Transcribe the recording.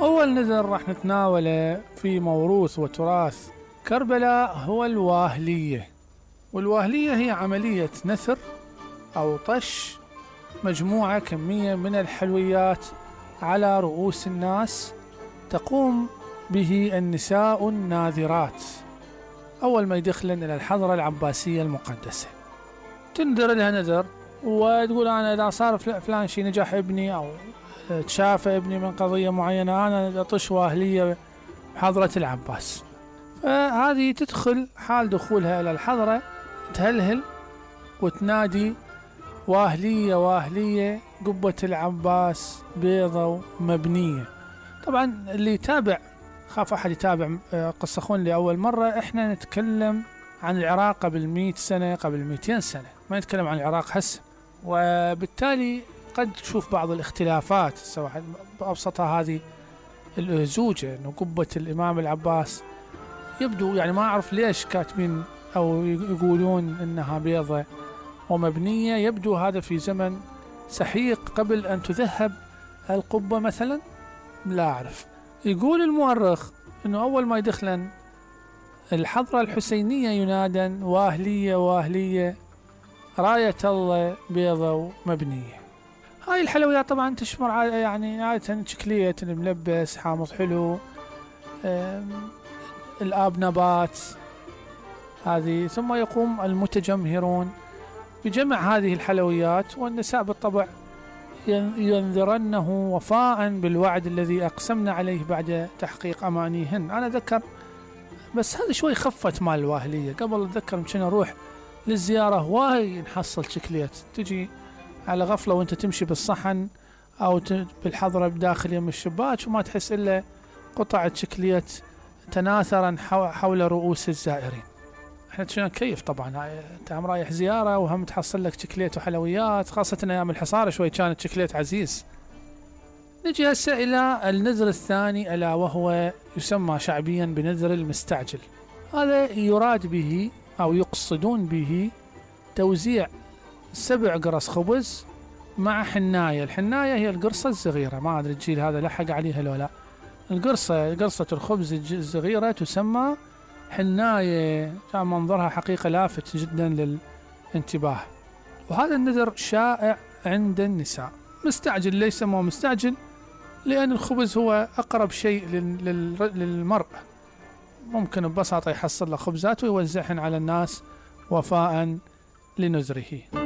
أول نذر راح نتناوله في موروث وتراث كربلاء هو الواهلية. والواهلية هي عملية نثر أو طش مجموعة كمية من الحلويات على رؤوس الناس، تقوم به النساء الناذرات أول ما يدخلن إلى الحضرة العباسية المقدسة. تنذر لها نذر وتقول أنا إذا صار فلان شي، نجح ابني أو تشافى ابني من قضية معينة، أنا أطش واهلية بحضرة العباس. فهذه تدخل حال دخولها إلى الحضرة تهلهل وتنادي واهلية واهلية قبة العباس بيضة ومبنية. طبعا اللي يتابع، خاف أحد يتابع قصة خون لأول مرة، إحنا نتكلم عن العراق قبل 100 سنة قبل 200 سنة، ما نتكلم عن العراق هسه. وبالتالي قد تشوف بعض الاختلافات، سواء بأبسطها هذه الأهزوجة إنه قبة الإمام العباس يبدو، يعني ما أعرف ليش كاتبين أو يقولون إنها بيضة ومبنية، يبدو هذا في زمن سحيق قبل أن تذهب القبة مثلا، لا أعرف. يقول المؤرخ إنه أول ما يدخلن الحضرة الحسينية ينادن واهلية واهلية راية الله بيضة ومبنية. هاي الحلويات طبعا تشمر يعني عادة شكلية الملبس حامض حلو، الآب نبات هذه. ثم يقوم المتجمهرون بجمع هذه الحلويات، والنساء بالطبع ينذرنه وفاء بالوعد الذي أقسمنا عليه بعد تحقيق أمانيهن. أنا أذكر بس هذا شوي خفت مال الواهلية، قبل أتذكر ممكن أروح للزيارة واي نحصل شكليت، تجي على غفلة وانت تمشي بالصحن أو بالحضرة بداخل يم الشباك وما تحس إلا قطعة شكليت تناثرا حول رؤوس الزائرين. احنا تشنا كيف طبعا، انت هم رايح زيارة وهم تحصل لك شكليت وحلويات، خاصة أيام الحصارة شوي كانت شكليت عزيز. نجي هسه إلى النذر الثاني، ألا وهو يسمى شعبيا بنذر المستعجل. هذا يراد به أو يقصدون به توزيع 7 قرص خبز مع حناية. الحناية هي القرصة الصغيرة، ما أدري الجيل هذا لحق عليها لو لا. قرصة الخبز الصغيرة تسمى حناية، كان منظرها حقيقة لافت جدا للانتباه. وهذا النذر شائع عند النساء. مستعجل ليس مو مستعجل، لأن الخبز هو أقرب شيء للمرء، ممكن ببساطة يحصل له خبزات ويوزعهن على الناس وفاء لنذره.